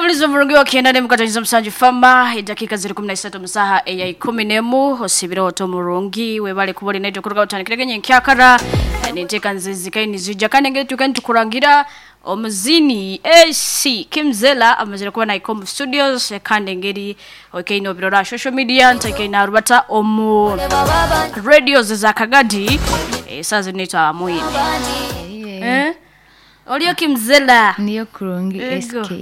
omulizi omurungi wa kyenda n'emukataniza musanju fama edakiika ziri 13 omu saaha eya 11 osiibire ota omurungi webale kuba ori naitwe kuruga otandikire ge nyenkyakara ninteeka nzizikayo nizija kandi engeri tuka nitukurangira omuzini AC Kimzela amazire kuba nahika omu studios kandi engeri okaine obirora aha social media ntaikaine narubata omu radios za Kagadi esaaha zinu naitwe amwine eh? Oriyo Kimzela Niyo kurungi Ego. SK.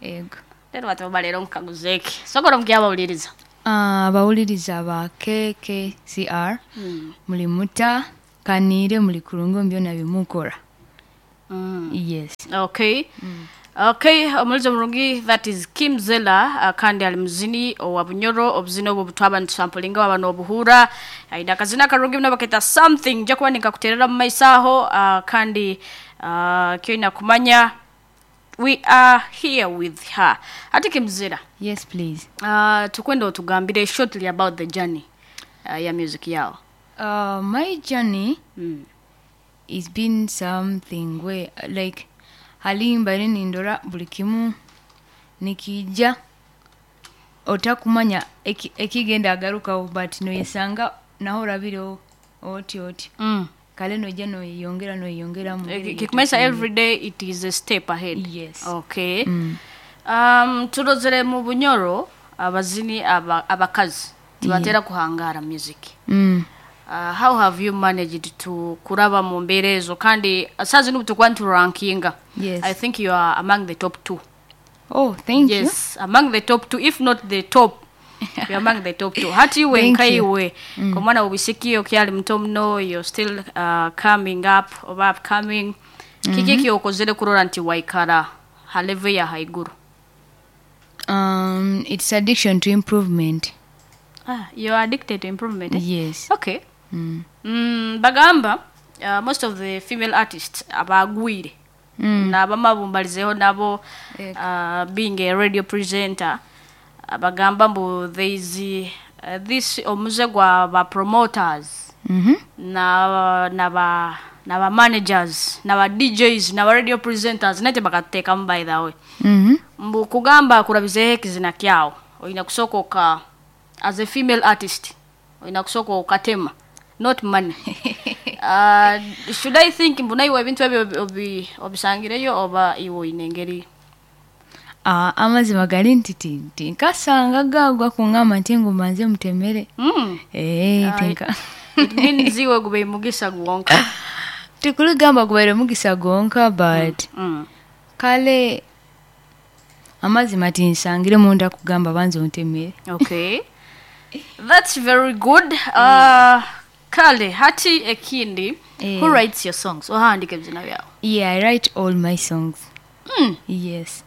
Ego. Rero bati leero nkukaguza eki. Sobola omugira abawuliriza. Abawuliriza ba KKCR muli muta kaniire muli kurungi omu byona bimukora. Yes. Okay. Okay, omulizi omurungi that is Kim Zella kandi ali muzini owa Bunyoro obuzini obwo butwaba nitusampulinga waba nobuhuura aine akazina akarungi muno baketa something nja kuba ninkakuterera omu maiso aho kandi kyoine kumanya we are here with her. Hati Kim Zella. Yes please. Tukwenda otugambire shortly about the journey ya music yao. My journey it's been something where like hali mbaire nindora buli kimu nikiija otakumanya ekigenda agarukaho but noyesanga naho orabireho oti oti kale noija noyeyongera noyeyongera mu ngeri Kikumanyisa every day it is a step ahead. Yes. Okay. Turozere mu Bunyoro abazini abakazi tibatera kuhangara music. How have you managed to kuraba mu mbeera ezo kandi saa zinu tukuba niturankinga. Yes. I think you are among the top 2. Oh, thank you. Yes, among the top 2 if not the top. You're among the top 2. Hati iwe Thank nka you. iwe komwana obisiki okyali muto muno you're still coming up oba upcoming. Kiki ekyokozere kurora nti waikara ha level ya haiguru? It's addiction to improvement. You're addicted to improvement. Eh? Yes. Okay. Bagamba most of the female artists abagwire naabamabumbalizeho nabo being a radio presenter bagamba mbu there is this omuze gwa ba promoters na ba managers na ba DJs na ba radio presenters nate bakatekamu by the way. Mbu kugamba kurabizeho ekizina kyawo oyina kusooka as a female artist oyina kusooka okatema not money. Should I think mbu naiwe ebintu ebyo obisangireyo oba iwe oyine engeri? Amazima gali nti tinkasanga gagwa kungamba nti ngu mbanze mutemere. Tinka. It means iwe gubaire mugisa gwonka. Tikuligamba gubaire mugisa gwonka but kale amazima tinsangire munda kugamba banze ontemere. Okay. That's very good. Kale hati ekindi who writes your songs? Ohandika ebizina byawe? Yeah, I write all my songs. Yes.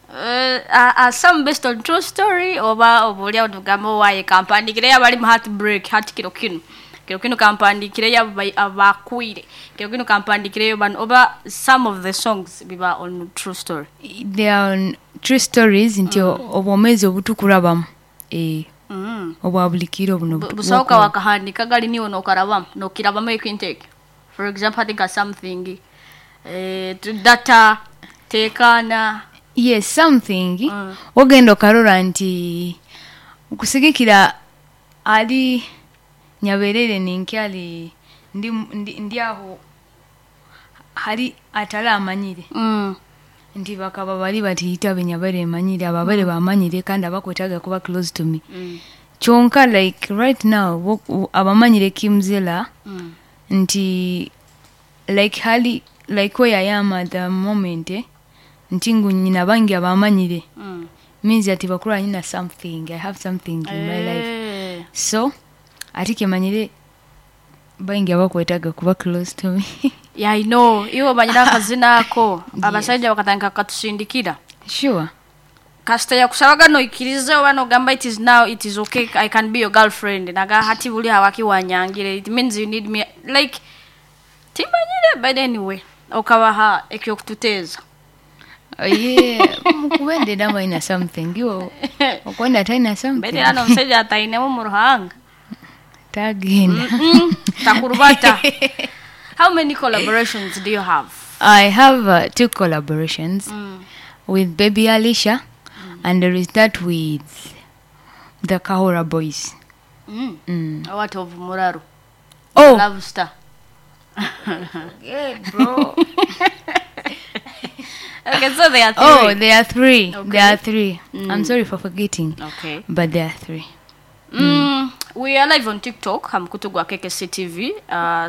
Are some based on true story oba obolya otugamba owaye kampandikireyo abali mu heartbreak hati kiro kinu. Kiro kinu kampandikireyo abakwire. Kiro kinu kampandikireyo bano oba some of the songs biba on true story. They are on true stories nti obwomezi obutukurabamu. Obwa buli kiro buno Busooka wakahandika gali niwe nokarabamu nokirabamu ekintu ekyo. For example, I think something data tekana. Yes, something. Ogenda okarora nti okusigikira ali nyaberere ninkyali ndi aho hari atala amanyire. Nti bakaba bali batiyita benyabere manyire ababere bamanyire kandi abakwetaga kuba close to me. Kyonka like right now abamanyire Kimzela nti like hali like where I am at the moment nti ngu nyina bangi abamanyire. Means that bakura nyina something, I have something in my life. So ati kemanyire bangi abakwetaga kuba close to me. Yeah, I know. Iwe manyira akazina ako. Abasajja bakatandika katusindikira. Sure. Kasita yakusabaga noikirize oba nogamba it is now, it is okay, I can be your girlfriend. Naga hati buli hawaki wanyangire. It means you need me. Like, timanyire, but anyway. Okabaha ekyokututeeza. Yeah, mukuwende dama ina something. Iwo, okwenda taina something. Mbere hano omusajja atainemu mu ruhanga. Tagenda. Takurubata. How many collaborations do you have? I have 2 collaborations. with Baby Alicia, and there is that with the Kahora Boys. What of Muraru? Oh, Love Star. yeah, bro. Okay, so there are three. Oh, there are three. Okay. There are three. I'm sorry for forgetting, Okay. but there are three. We are live on TikTok, hamukutu gwa KKC TV.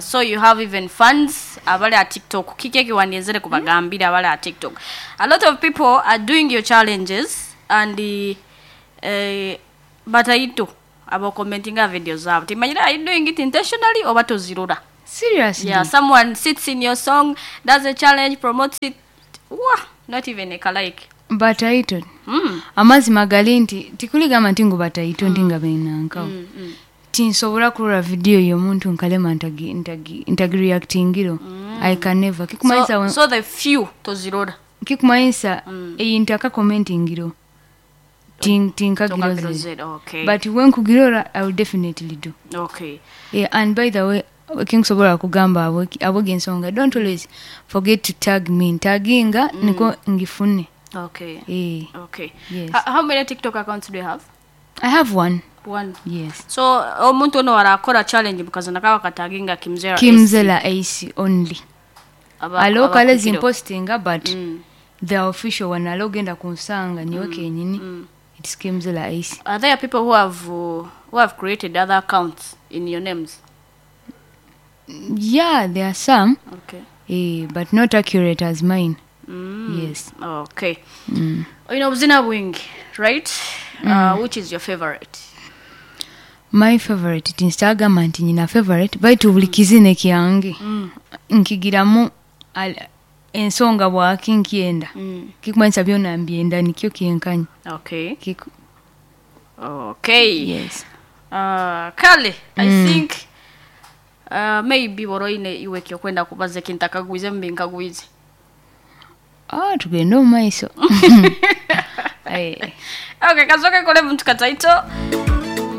So you have even fans abali at TikTok. Kiki ekiwandiizire kubagambira abali at TikTok. A lot of people are doing your challenges and bataito abo commenting video zabo. Timanyira, are you doing it intentionally or batozirura? Seriously? Yeah, someone sits in your song, does a challenge, promotes it. Wah, not even a like. Bataito. Amazima gali nti tikuligamba nti ngu bataito nti nga benankawo. Tinsobola kulora video y'omuntu nkalema ntagi ntagi ntagireactingiro. I can never. Kikumanyisa So the few tozirora. Kikumanyisa eyi ntaka commentingiro. Tinkagirozere. Tokagirozere, okay. But when nkugirora I will definitely do. Okay. Yeah, and by the way, kinkusobola kugamba abo aboga ensonga, don't always forget to tag me. Ntaginga niko ngifune. Okay. Eh. Okay. Yes. How many TikTok accounts do you have? I have one. One. Yes. So omuntu ono arakora challenge mukazana kawa kataginga Kimzera. Kimzela AC only. Alo kale abakukiro. zimpostinga, but the official one alo genda kunsanga niwe kenyini. It's Kimzela AC. Are there people who have created other accounts in your names? Yeah, there are some. Okay. But not accurate as mine. Yes. Okay. You know Zina Wing, right? Which is your favorite? My favorite tinsitagamba nti nyina favorite baitu buli kizine kyange nkigiramu ensonga bwaki nkyenda kikumanyisa byona mbyenda nikyo kyenkanya. Okay. Okay. Yes. Kale, I think maybe boroine iwe kyokwenda kubaza kintakagwize mbinkagwize. Ah, tugende omu maiso. Okay, kazoke kole muntu kataito.